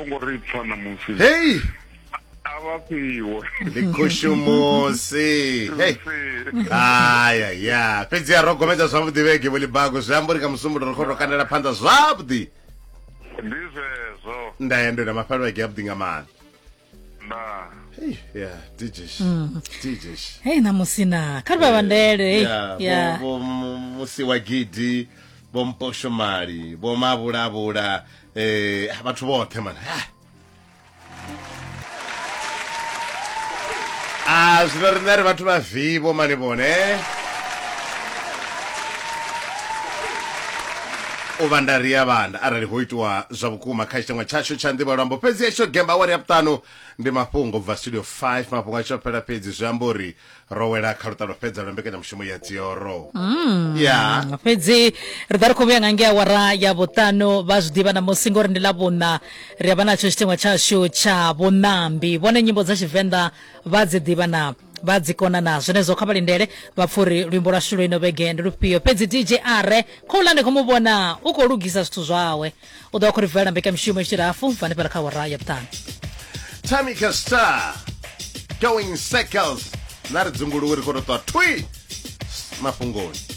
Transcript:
vho ngo ri pfa ṋamusi. Hei! A vha fhiwe. Ndi khushumusi. Hei. Aya ya. Fhedzi a ro gomedza zwavhuḓi vhege vho Libago zwi amba uri nga musumbulo ri khou tou kandela phanḓa zwavhuḓi. Ndi zwezwo. Nda ya ndo na mafhelo vhege avhuḓi nga maanḓa. Nda. Hey, yeah, DJs. DJs. Hei ṋamusi na kha ri vha vhandele hei. Yeah, Ya. vho vho musi wa gidi, vho mposhomali, vho mavhulavhula, eh vhathu vhoṱhe man. Ah. Ah, zwino riṋe ri vhathu vha vivo mani vhone. U vhanda ri a vhanda arali ho itiwa zwa vhukuma kha tshiteṅwa tshashu tsha nḓivho ya luambo fhedzi hetsho gemba awara ya vhuṱanu ndi mafhungo bva studio 5 mafhungo a tshi fhela fhedzi zwi amba uri ro wela kha luṱa lwo fhedza lwa mbekanyamushumo ya dzioro ya Fhedzi ri ḓa ri khou vhuya nga ngei awara ya vhuṱanu vha zwi ḓivha ṋamusi ngori ndi ḽa vhuṋa ri a vha natsho tshiteṅwa tshashu tsha vhuṋambi vhone nyimbo dza tshivenḓa vha dzi ḓivha na vha dzi kona na zwenezwo kha vha lindele vha pfha uri luimbo lwashu lwo ino vhege ndi lufhio fhedzi dj are khouḽa ndi khou mu vhona u khou lugisa zwithu zwawe u ḓo vha khou ri bvela mbekanyamushumo i tshi hafu bva hanefhala kha awara ya vhuṱanu Tamika Star going circles na ri dzunguluwe ri khou tou ṱwa thwi mafhungoni.